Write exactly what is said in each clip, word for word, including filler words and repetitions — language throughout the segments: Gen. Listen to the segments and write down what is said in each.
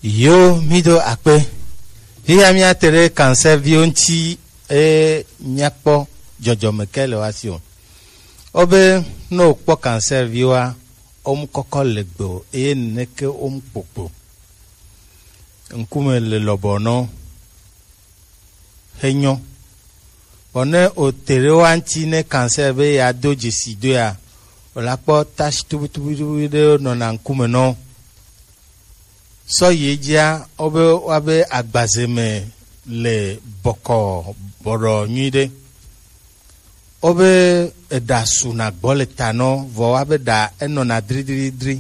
Yo, mi do akpe. Hiya mi ate ɖe cancer viwo ŋuti, e, miakpɔ dzɔdzɔme ke le wa si o. Wobe ne wokpɔ cancer viwoa, womu kɔkɔ le gbe o, eye neke womu kpokpo. Ŋkume le lɔbɔ nɔ. He nyɔ. Vɔ ne o te ɖe wa ŋuti ne cancer be ya do dzesi do ya, o la kpɔ tache tubutubutubu ɖe nɔna ŋkume nɔ. Sɔ yi edzia, wobe wa be agbaze me le bɔkɔ bɔɖɔ nyuiɖe. Wobe eɖa su na gbɔ le ta nɔ, vɔ wa be ɖa enɔna dridridri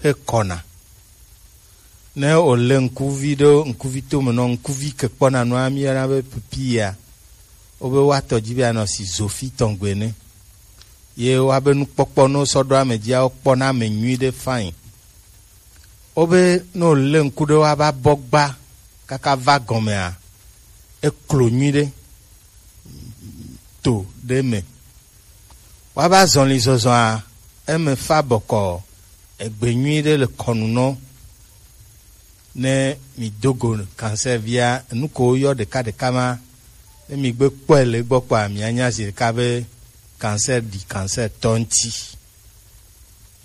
he kɔna. Ne wòle ŋkuvi ɖe ŋkuvi tome nɔ, ŋkuvi ke kpɔna nua mi yɔna be pipia. Wobe woatɔ dzi be anɔ si zofi tɔn gbe ne. Ye woabe nukpɔkpɔ ne wosɔ ɖo ame dzia, wokpɔna ame nyui ɖe fain. Wobe ne wòle ŋku ɖe woaba bɔ gba kaka va gɔmea, eklo nyui ɖe to ɖe me. Woaba zɔli zɔzɔa, eme fa bɔkɔ, egbe nyui ɖe le kɔnu nɔ. Ne mi do go cancer via, enu ko woyɔ ɖeka ɖeka ma, ne mi gbe kpɔe le egbɔ kpɔa, mi anya zi ɖeka be cancer ɖi cancer tɔ ŋuti.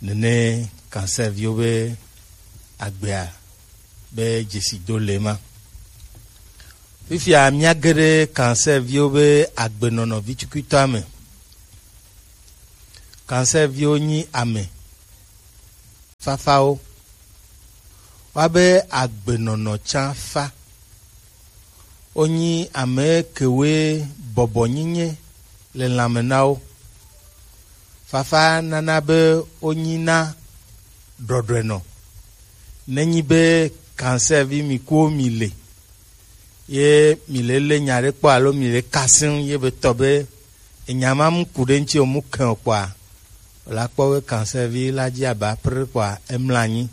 Nene cancer viwo be agbea be dzesi do le ma. Fifia mía ge ɖe cancer viwo be agbenɔnɔ vitukutɔa me. Cancer viwo nyi ame fafawo. Woabe agbenɔnɔ tsã fa. Wonyi ame kewoe bɔbɔnyinye le lãme na wo. Fafa nana be wonyina ɖɔɖɔenɔ. Nenyi be cancer vi mi kuwo mi le, ye mi le lé nya ɖe kpɔ alo mi le kasẽŋ ye be tɔ be enya ma mu ku ɖe ŋuti o, mu kẽ o kpɔa, o la kpɔ be cancer vi la dzi aba pr kpɔa, emla anyi,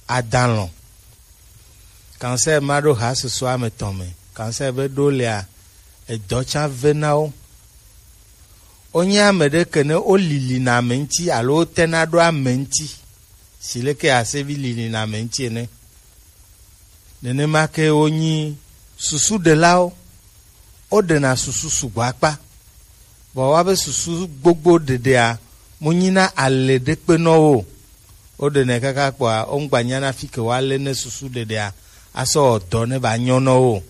ada alɔ̃. Cancer ma ɖo ha susu ame tɔn me. Cancer be ɖo lea, edɔ tsã ve na wo. Wonye ame ɖe ke ne wolili na ame ŋuti alo wotena ɖo ame ŋuti. Si leke asevi lili na ame ŋuti ene. Nenema ke wonyi susu ɖelawo. Woɖena susu sugbɔ akpa. Vɔ woabe susu gbogbo ɖeɖea, mu nyina ale ɖe kpe nɔ wo. Woɖenɛ kaka kpɔa, wo ŋgba nyana fi ke woalé ne susu ɖeɖea asɔ wɔ dɔ ne ba nyɔ nɔ wo.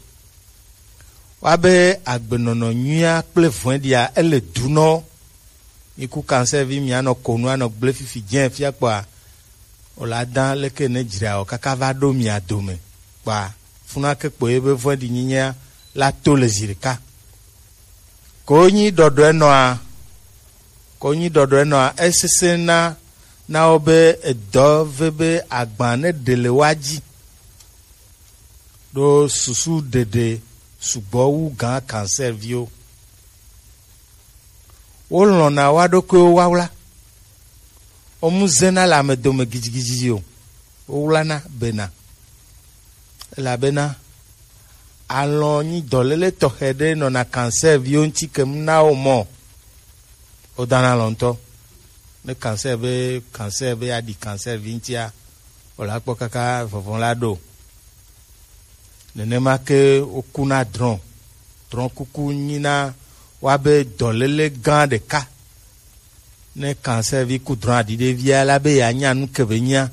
Woabe agbenɔnɔ nyuia kple vɔ̃ɖia, ele du nɔ wo. Mi ku cancer vi, mi anɔ konu, anɔ gblẽ fifi dzẽ fia kpɔa, o la dã leke ne dzra o kaka va ɖo mia dome kpɔa, funa ke kpo ye be vɔ̃ɖi nyinyea la to le zi ɖeka. Ko nyi ɖɔɖɔe nɔa, ko nyi ɖɔɖɔe nɔa, esesẽ na, na wo be edɔ ve be agba ne ɖe le wa dzi. Ɖo susu ɖeɖe sugbɔ wu gã cancer viwo. Wolɔ̃na wa ɖokuiwo wawla. Womu zena le ame dome gidigidi o. Wowlana bena. Elabena alɔ̃ nyi dɔléle tɔxɛ ɖe nɔna cancer viwo ŋuti kem na wo mɔ. Wodana alɔ̃ ŋutɔ. Ne cancer be, cancer be aɖi cancer vi ŋutia, o la kpɔ kaka vɔvɔ̃ la ɖo. Nenema ke wokuna drɔ̃. Drɔ̃kuku nyina woabe dɔléle gã ɖeka. Ne cancer vi ku drɔ̃ aɖi ɖe via, la be yeanya nu ke be nyia.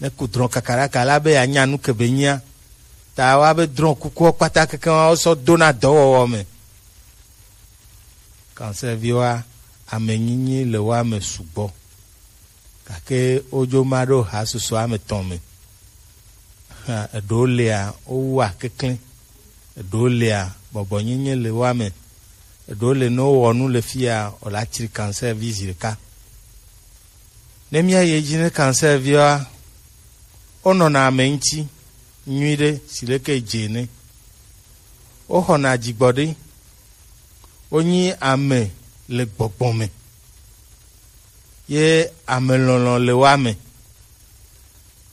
Ne ku drɔ̃ kakaɖaka, la be yeanya nu ke be nyia. Ta woabe drɔ̃kukuwo kpata kekeŋ wosɔ dona dɔwɔwɔ me. Cancer viwoa, ame nyinyi le woa me sugbɔ. Gake wodzo ma ɖo ha susu ame tɔn me. Hã, eɖewo lia, wowua keklẽ. Eɖewo lia, bɔbɔnyinyi le woa me. Eɖewo le, ne wowɔ nu le fia, wòla tsri cancer vi zi ɖeka. Ne míayi edzi ne cancer viwoa, wonɔna ame ŋuti nyuiɖe, si leke dze ene. Woxɔna dzigbɔɖi. Wonyi ame le gbɔgbɔ me. Ye ame lɔlɔ̃ le woa me.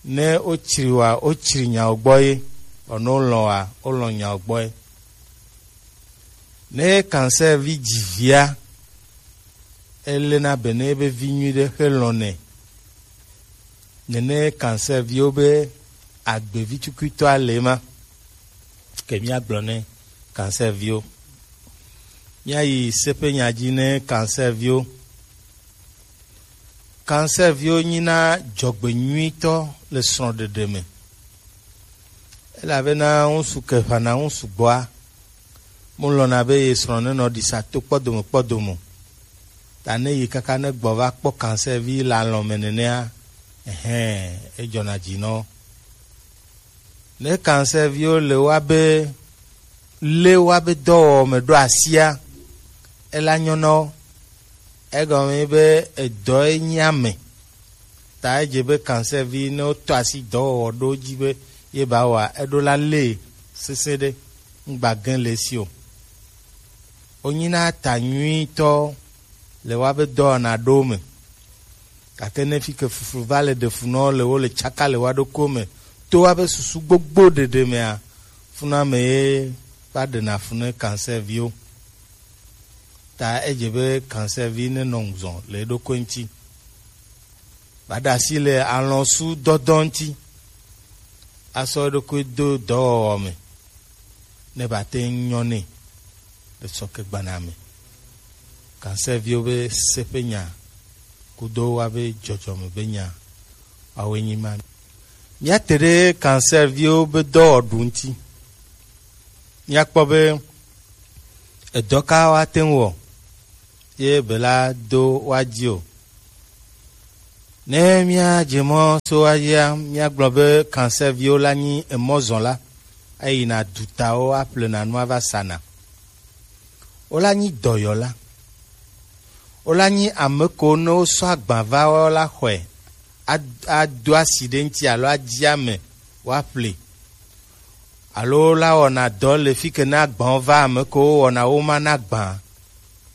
Ne wotsri wa, wotsri nyawo gbɔ ye. Vɔ ne wolɔ̃ wa, wolɔ̃ nyawo gbɔ ye. Ne cancer vi dzi via, elena be ne ebe vi nyuiɖe xe lɔ̃nɛ. Nene cancer viwo be agbevi tukuitɔ ale ma. Ke míagblɔ ne kansɛviwo. Míayi seƒe nya dzi ne kansɛviwo. Kansɛviwo nyina dzɔgbenyuitɔ le srɔ̃ɖeɖe me. Elabena ŋutsu ke ʋãna ŋutsu gbɔa, mu lɔ̃na be ye srɔ̃ nenɔ ɖisa to kpɔdome kpɔdome o. Ta ne yi kaka ne gbɔ va kpɔ kansɛvi le alɔ̃ me nenea, ɛhɛ̃, edzɔna dzi nɔ. Ne kansɛviwo le woabe lé woabe dɔwɔwɔ me ɖo asia, ela nyɔ na wo. Egɔme nye be edɔe nyi ame. Ta edze be kansɛvi ne wotɔ asi dɔwɔwɔ ɖo dzi be ye ba wɔa, eɖo la lée sesẽ ɖe, ŋgba gẽ le esi o. Wonyina ta nyuitɔ le woabe dɔwɔna ɖewo me. Gake ne fi ke fuflu va le ɖe fu nɔ le wo le tsaka le woa ɖokuiwo me to woabe susu gbogbo ɖeɖe mea, funame ye va ɖena fu ne kansɛviwo. Ta edze be kansɛvi nenɔ ŋuzɔ le eɖokui ŋuti. Baɖe asi le alɔ̃su dɔdɔ ŋuti. Asɔ eɖokui do dɔwɔwɔ me. Ne bate ŋu nyɔ nɛ le sɔkegbana me. Kansɛviwo be seƒe nya kudo woabe dzɔdzɔme be nya, woawoe nyi ma. Míate ɖe kansɛviwo be dɔwɔɖu ŋuti. Míakpɔ be edɔ ka woate ŋu wɔ ye bela do woa dzi o. Ne míadze mɔ so woa dzia, míagblɔ be kansɛviwo la nyi emɔzɔla, eyina dutawo aƒlena nu ava sana. Wola nyi dɔyɔla. Wola nyi ame ko ne wosɔ agba va wo la xɔe, ad- ado asi ɖe ŋuti alo adzi ame woaƒle. Alo wola wɔna dɔ le fi ke ne agbawo va ame ko wowɔna wo ma na gbã.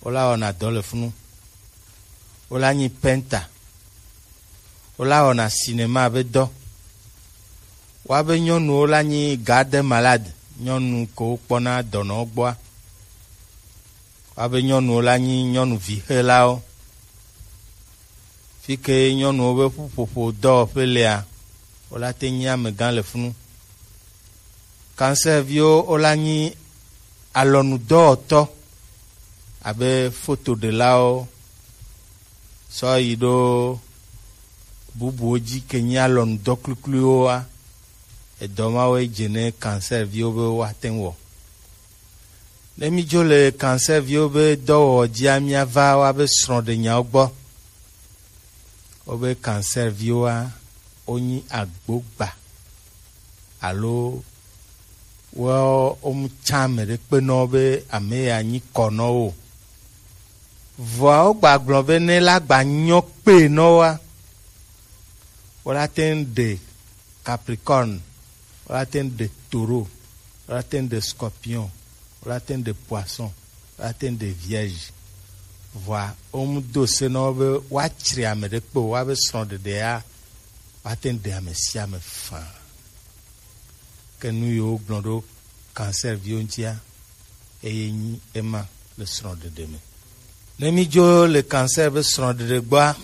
Wola wɔna dɔ le funu. Wola nyi penta. Wola wɔna sinema be dɔ. Woabe nyɔnuwo la nyi garde malade, nyɔnu ko wokpɔna dɔnɔwo gbɔa. Woabe nyɔnuwo la nyi nyɔnu vixelawo. Fi ke nyɔnuwo be ƒuƒoƒo dɔwɔƒe lea, wola te nyi amegã le funu. Kansɛviwo wola nyi alɔnudɔwɔtɔ abe fotoɖelawo sɔ yi ɖo bubuwo dzi ke nyi alɔnudɔ kplikpliwoa, edɔ mawoe dze ne kansɛviwo be woate ŋu wɔ. Ne mídzo le kansɛviwo be dɔwɔwɔ dzia, míava woabe srɔ̃ɖenyawo gbɔ. Wobe kansɛviwoa, wonyi agbogba alo wo womu tsã ame ɖe kpe nɔ be ame ya nyi kɔ nɔ wo. Vɔa wogba gblɔ be ne la gba nyɔ kpe nɔ woa, wola te ŋu ɖe Capricorne, wola te ŋu ɖe Taureau, wola te ŋu ɖe Scorpion, wola te ŋu ɖe Poisson, wola te ŋu ɖe Vierge. Vɔa womu do se nɔ wo be woatsri ame ɖe kpe o, woabe srɔ̃ɖeɖea woate ŋu ɖe ame sia ame faa. Ke nu yiwo gblɔ ɖo kansɛviwo ŋutia, eye nyi ema le srɔ̃ɖeɖe me. Ne mídzo le kansɛr be srɔ̃ɖeɖe gbɔa,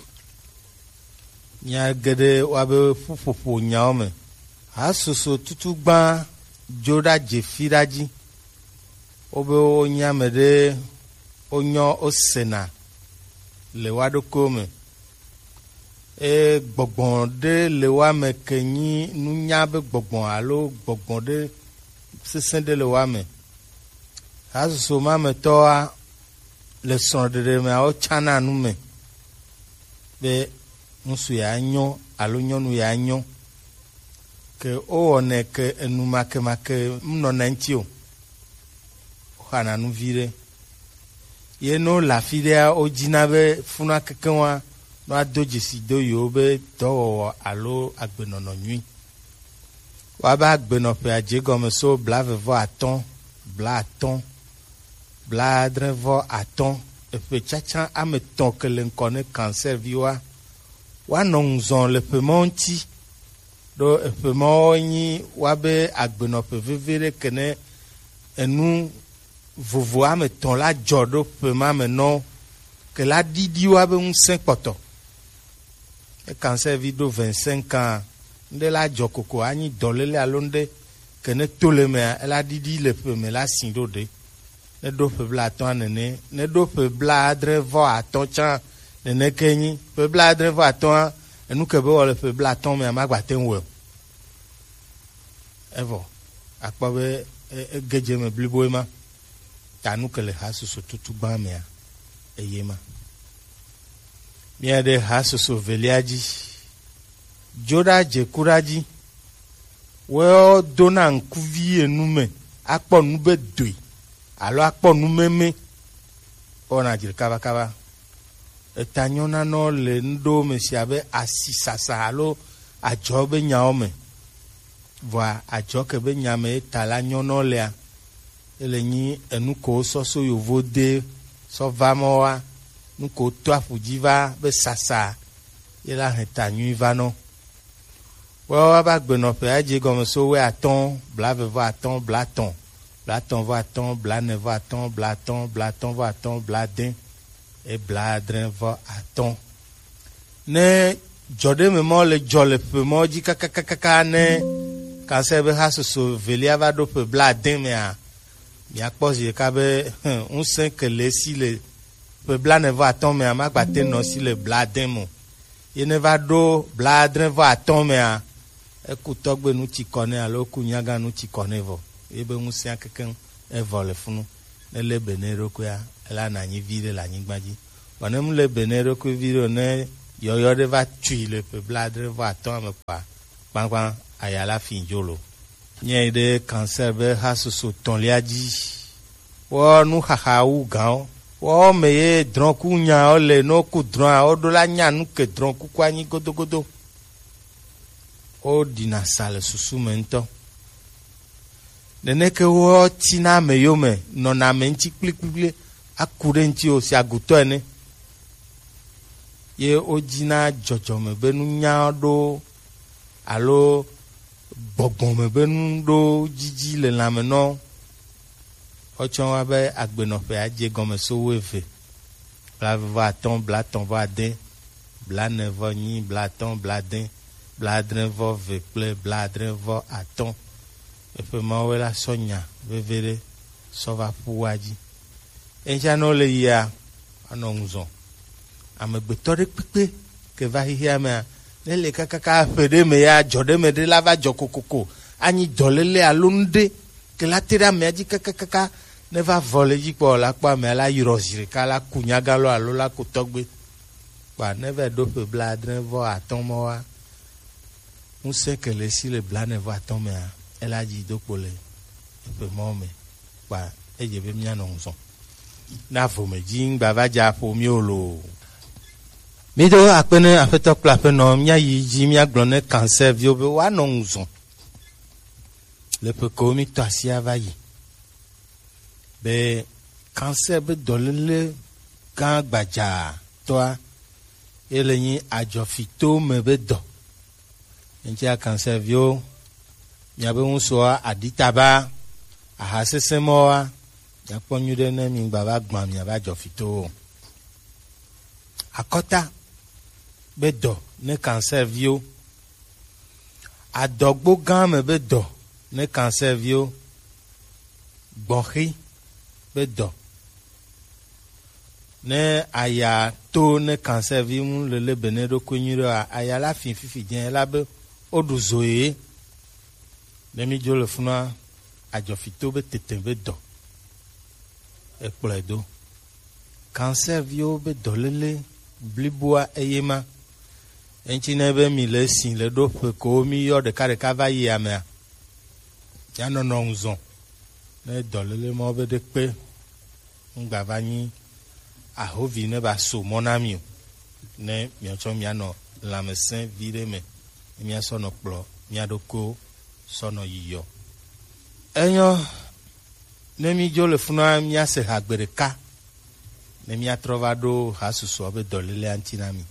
nya geɖe woabe ƒuƒoƒo nyawo me. Hasusu tutugbã dzo ɖa dze fi ɖa dzi. Wobe wonye ame ɖe wonyɔ wosena le woa ɖokuiwo me. Eye gbɔgbɔ ɖe le woa me ke nyi nunya be gbɔgbɔ alo gbɔgbɔ ɖe sesẽ ɖe le woa me. Hasusu ma me tɔwoa, le srɔ̃ɖeɖe mea, wotsana nu me be ŋutsu ya nyo alo nyɔnu ya nyo. Ke wowɔnɛ ke enu makemake menɔna eŋuti o. Woxana nu viɖe. Ye ne wole afi ɖea, wodina be funua kekeŋua, ne woado dzesi do yewo be dɔwɔwɔ alo agbenɔnɔ nyui. Woabe agbenɔƒea dze egɔme so blaeve vɔ atɔ̃, blaatɔ̃, blaadre vɔ atɔ̃, eƒe tsatsa ame etɔ̃ ke le ŋkɔ ne kansɛviwoa, woanɔ ŋuzɔ le ƒe mawo ŋuti. Ɖo eƒe mawo nyi woabe agbenɔƒe veve ɖe ke ne enu vovo ame etɔ̃ la dzɔ ɖo ƒe ma me nɔ ke la ɖiɖi woabe ŋusẽ kpɔtɔ. Ne kansɛvi ɖo vingt-cinq ans, Nuɖe la jɔ koko anyi dɔlele alo nuɖe ke ne to le mea, ela ɖiɖi le ƒe me la si ɖo ɖe. Ne ɖo ƒe blaatɔ̃a nene, ne ɖo ƒe blaadre vɔ atɔ̃ tsã nene ke nyi. Ƒe blaadre vɔ atɔ̃a, enu ke be wɔ le ƒe blaatɔ̃ mea, magba te ŋu wɔe o. Evɔ, akpɔ be e- egedze me blibo ema. Ta nu ke le hasusu tutu gbã mea, eye ma. Mía ɖe hasusu velia dzi. Dzo ɖa dze ku ɖa dzi. Woe dona ŋkuvi enu me, akpɔ nu be doe, alo akpɔ nu meme. Wɔna dzi kabakaba. Eta nyɔna nɔ le nuɖewo me si abe asisasa alo adzɔ be nyawo me. Vɔa adzɔ ke be nya me eta la nyɔnɔ lea, ele nyi enu ko sɔ so yovo de sɔ va mɔ wa, nu ko to aƒu dzi va be sasa ye la hɛn ta nyui va nɔ. Woawo ava gbenɔƒe adze gɔme so wɛ atɔ̃, blaveve vɔ atɔ̃, blatɔ̃, blatɔ̃ vɔ atɔ̃, blane vɔ atɔ̃, blatɔ̃, blatɔ̃ vɔ atɔ̃, bladẽ, e bladre vɔ atɔ̃. Ne jɔ ɖe me mɔ le jɔ le ƒe mɔ dzi kakakakaka ne kanse be ha soso velia va ɖo ƒe bladẽ mea, miakpɔ zi ɖeka be ŋusẽ ke le esi le ƒe blane vɔ atɔ̃ mea, magba te nɔ si le bladẽ me o. Ye ne va ɖo bladre vɔ atɔ̃ mea, eku tɔgbe nu tsi kɔ nɛ alo eku nyaga nu tsi kɔ nɛ vɔ. Ye be ŋusẽa kekeŋ evɔ le funu. Ne lé be ne ɖokuia, ela na nyi vi ɖe le anyigba dzi. Vɔ ne mu lé be ne ɖokui vi ɖe o, ne yɔyɔ ɖe va tui le ƒe bladre vɔ atɔ̃ me kpa kpankpan, aya la fi dzo lo. Nye ɖe cancer be ha soso tɔ̃lia dzi. Wɔ nu xaxa wu gãwo. Wɔ me ye drɔ̃ku nyawo le, no ku drɔ̃a, wo ɖo la nya nu ke drɔ̃kuku anyi godogodo. Wo ɖina sa le susu me ŋutɔ. Neneke wo tina ame yome, nɔna ame ŋuti kplikplikpli, aku ɖe ŋuti o, si agutɔ ene. Ye wo dzina dzɔdzɔme be nunya ɖo alo gbɔgbɔ me be nu ɖo dzidzi le lãme nɔ. Wotsɔ wa be agbenɔƒe adze gɔme so wuieve, blaeve vɔ atɔ̃, blatɔ̃ vɔ ade, blane vɔ enyi, blatɔ̃, bladẽ, bladre vɔ eve kple bladre vɔ atɔ̃. Eƒe mawo la sɔ nya veve ɖe sɔ va ƒu wa dzi. Eŋtsia ne wole yia, anɔ ŋu zɔ. Amegbetɔ ɖe kpekpe ke va xexea mea, ne le kakaka ƒe ɖe me ya, dzɔ ɖe me ɖe la va dzɔ kokoko, anyi dɔlele alo nu ɖe ke la te ɖe amea dzi kakakaka, ne va vɔ le dzi kpɔ la kpɔ amea la yrɔ zi ɖeka la ku nyagalo alo la ku tɔgbe. Kpa ne va ɖo ƒe blaadre vɔ atɔ̃ mɔ wa, ŋusẽ ke le esi le blane vɔ atɔ̃ mea, ela dzi do kpo le eƒe mɔ me. Kpa edze be míanɔ ŋu zɔ. Na vo me dzi ŋgba va dza ƒo mí o lo. Mí do akpe ne Aƒetɔ kple Aƒenɔ, mía yi dzi, mía gblɔ ne cancer viwo be woanɔ ŋu zɔ. Le ƒe ko mí tɔ asia va yi. Be cancer be dɔlele gã gbadzatɔa, ye le nyi adzɔfito me be dɔ. Eŋtsia cancer viwo, miabe ŋusɔa, aɖitaba, aha sesẽ mɔwoa, miakpɔ nyuie ɖe ne mi gba va gbã miabe adzɔfitowo o. Akɔta be dɔ ne cancer viwo, adɔgbo gã me be dɔ ne cancer viwo, gbɔxi be dɔ. Ne aya to ne cancer vi mu lele be ne ɖokui nyuie ɖe oa, aya la fi fifi dze la be woɖu zo ye. Ne mi dzo le funua, adzɔfito be tete be dɔ ekplɔe do. Cancer viwo be dɔlele bliboa eye ma. Eŋtsi ne be mi le si le ɖo ƒe ko mi yɔ ɖeka ɖeka va yi amea, ya nɔnɔ ŋu zɔ. Ne dɔlele ma be ɖe kpe ŋgba va nyi ahovi ne va so mɔ na mi o. Ne miatsɔ mianɔ lãmesẽ vi ɖe me, ne miasɔ nɔ kplɔ mia ɖokuiwo sɔ nɔ yiyɔ. Enyɔ, ne mi dzo le funua, miase ha gbe ɖeka, ne miatrɔ va ɖo ha susua be dɔlelea ŋuti na mi.